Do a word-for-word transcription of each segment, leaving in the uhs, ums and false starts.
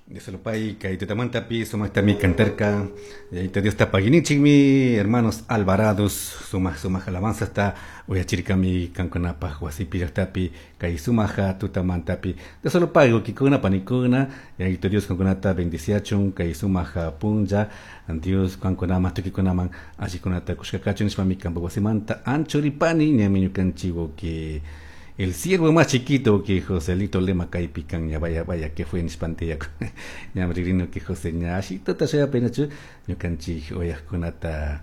Dios kay tutamantapi sumaqtami cantarka Yayito Diosta paginichikmi hermanos Alvarados sumaq sumaq alabanzasta uyachirkami kankunapaq wasipi llaqtapi kay sumaqa tutamantapi Dios solo pagui wawkikuna panikuna Yayito Dios kankunata bendiciachun kay sumaq punlla Dios kankunaman tukikunaman allikunata kushka kachun nishpami kanpak wasimanta anchuripani ñami ñukanchik wawki el siervo más chiquito que Joselito Lema kaypi kan ña vaya vaya que fue nishpante ñam ririno que José ña ashitota shayapinachu ñukanchik uyaqkunata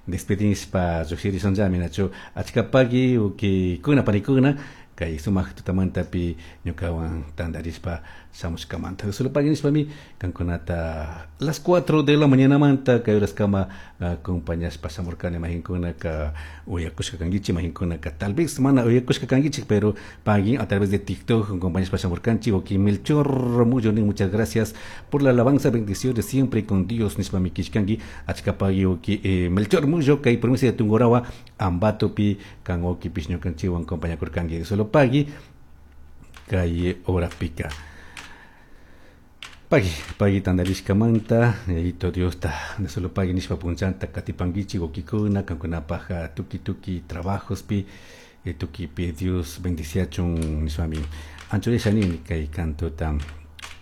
despedinishpa lluqshirishunllami nachu achka pagui wawkikuna panikuna kay sumaq tutamantapi ñukawan tantarishpa shamushkamanta Dios solo pagui nishpami kankunata las cuatro de la mañanamanta kay horaskama acompañashpa shamurkani mayqinkunaka uyakushka kankichik mayqinkunaka tal vez mana uyakushka kankichik pero pagui a través de TikTok acompañashpa shamurkanchik wawki Melchor Mullo nin muchas gracias por la alabanza bendiciones siempre con Dios nishpami kishkanki achka pagui wawki eh, Melchor Mullo kay provincia de Tungurahua Ambatopi kan wawkipish ñukanchikwan acompañakurkanki Dios solo pagui kay horapika Pagui, pagui tantarishkamanta, Yayito Diosta, Dios solo pagui nishpa punchanta katipankichik wawkikuna, kankunapaj tuki tuki trabajospi, eh, tukipi Dios bendiciachun nishpami anchurisha nini kay cantota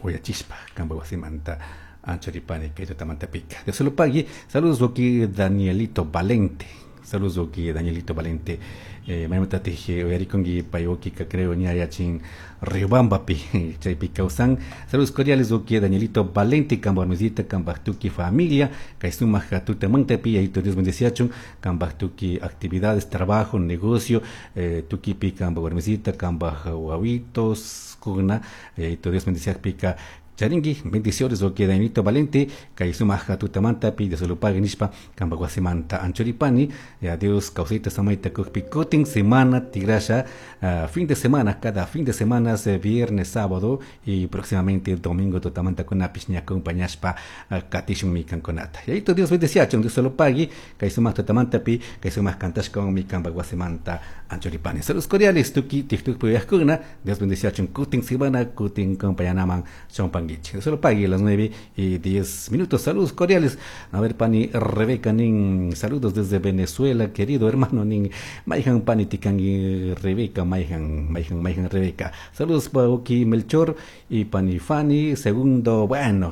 uyachishpa kanpak wasimanta anchuripani kay tutamantapika. Dios solo pagui, saludos wawki Danielito Valente, saludos wawki Danielito Valente, eh, maymantatik uyarikunki pay wawkika creo ña yachin Riobambapi chaypi kawsan saludos cordiales wawki Danielito Valente kanpak warmisita kanpak tuki familia kay sumaq tutamantapi Yayito Dios bendeciachun kanpak tuki actividades trabajo negocio eh, tukipi kanpak warmisita kanpak wawitos kuna Yayito Dios bendeciakpika charinki bendiciones wawki Danielito Valente kay sumaq tutamantapi Dios lo pague nishpa kanpak wasimanta anchuripani ya Dios kawsayta samayta kukpi kutin semana tigrasha uh, fin de semana cada fin de semana viernes sábado y próximamente domingo tutamanta kunapish ña acompañashpa uh, katishunmi kankunata Yayito Dios bendeciachun Dios lo pague kay sumaq tutamantapi kay sumaq kantashkawanmi kanpak wasimanta anchuripani saludos cordiales tuki TikTok uyaqkuna Dios bendeciachun kutin semana kutin acompañanaman chompanguichik Dios lo pague a las nueve y diez minutos. Saludos cordiales. A ver, pani Rebeca nin, saludos desde Venezuela, querido hermano nin, Maihan pani tikangi Rebeca, Maihan, Maihan, Maihan Rebeca. Saludos pa wawki Melchor y pani Fanny. Segundo, bueno,